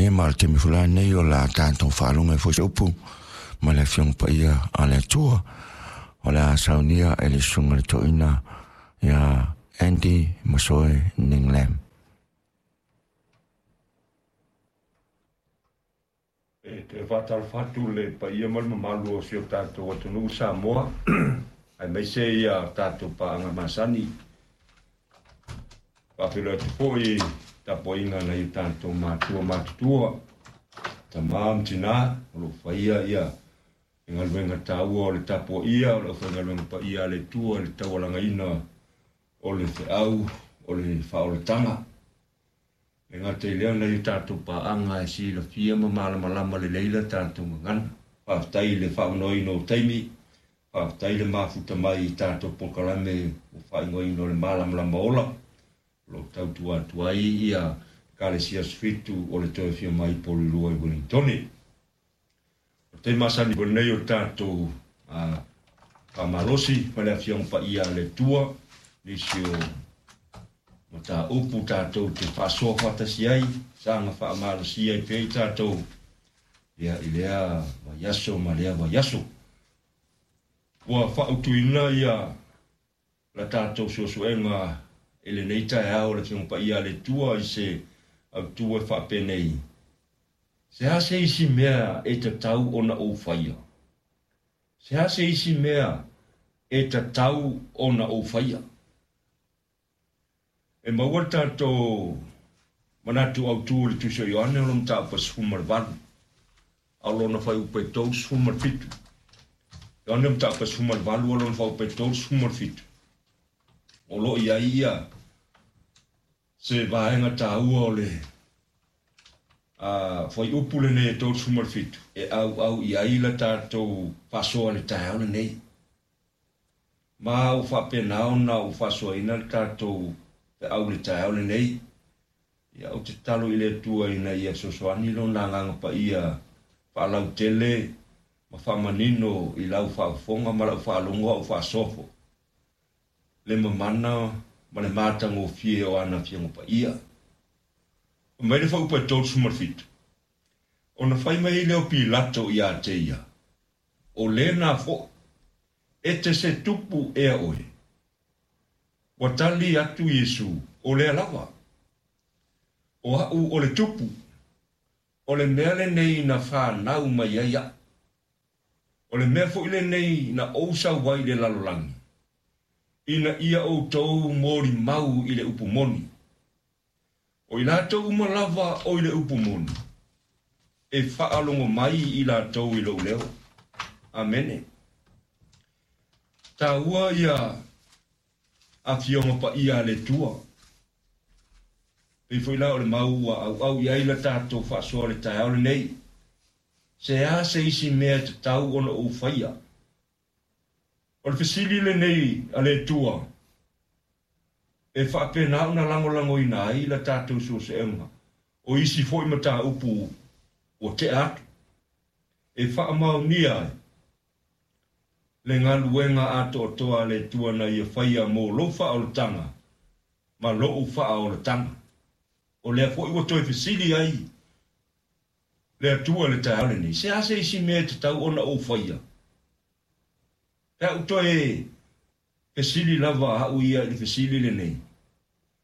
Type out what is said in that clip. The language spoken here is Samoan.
Ia ma o le taimi foi la lenei o le a tatou faalogo ai foi se upu ma le Afioga Paia a le Atua. O le a saunia e le Susuga i le Toeaina ia Andy Masoe Ning Lam. E toe faatalofa atu i le paia ma le mamalu o si o tatou atunuu Samoa, aemaise ia tatou paaga masani. Faafeiloai atu foi i tapuaiga a nai o tatou matua matutua, tama ma tina o lo o faia ia galuega taua o le tapuaia o le aufaigaluega paia a le Atua i le taualagaina o le feau o le faaolataga. E gata i lea, nai o tatou paaga e silafia ma malamalama lelei la tatou gagana. Faafetai i le faaunoaina o taimi, faafetai le mafuta mai i tatou polokalame ua faaigoaina o le Malamalama Ola, o lo o tautua atu ai ia Ekalesia Asofitu o le Toe Afio Mai i Porirua i Ueligitone. O le taimi masani lenei o le tatou faamalosi ma le Afioga Paia a le Atua, nisi o mataupu tatou te faasoa faatasi ai, saga faamalosia ai pea i tatou ia, i lea vaiaso ma lea vaiaso. Ua faautuina ia la tatou suesuega i lenei taeao le Afioga Paia a le Atua i se autu e faapenei, Se a se isi mea e tatau ona ou faia? Se a se isi mea e tatau ona ou faia? E maua le tatou manatu autu i le Tusi o Ioane o lona mataupu e 18, a o lona fuaiupu e 37. Ioane mataupu e 18 a o lona fuaiupu e 37. O lo o i ai ia se vaega taua o le fuaiupu lenei e 37 e auau i ai la tatou faasoa i le taeao lenei. Ma ua faapena ona ou faasoaina le tatou feau i le taeao lenei. Ia, ou te tatalo i le Atua ina ia fesoasoani Lona Agaga Paia faalautele ma faamanino i lau faafofoga ma lau faalogo a o faasoa foi le mamana ma le matagofie o ana Afioga Paia. Fai mai le fuaiupu e 37, Ona fai mai ai lea o Pilato ia te ia, O lena foi, e te se tupu ea oe? Ua tali atu Iesu, O lea lava. O a'u o le tupu, o le mea lenei na fanau mai ai a'u. O le mea foi lenei na ou sau ai i le lalolagi, ina ia outou molimau i le upu moni. O i latou uma lava o i le upu moni, e faalogo mai i latou i lou leo. Amene. Taua ia Afioga Paia a le Atua. Pei foi la o le mau ua auau i ai la tatou faasoa i le taeao lenei. Se a se isi mea e tatau ona ou faia? O le fesili lenei a le Atua e faapena ona lagolagoina ai la tatou suesuega o isi foi mataupu ua tea atu, e faamaonia ai le galuega atoatoa a le Atua na Ia faia mo lou faaolataga ma lou faaolataga. O lea foi ua toe fesili ai le Atua i le taeao lenei, Se a se isi mea e tatau ona ou faia? Pe a ou toe fesili lava au ia i le fesili lenei.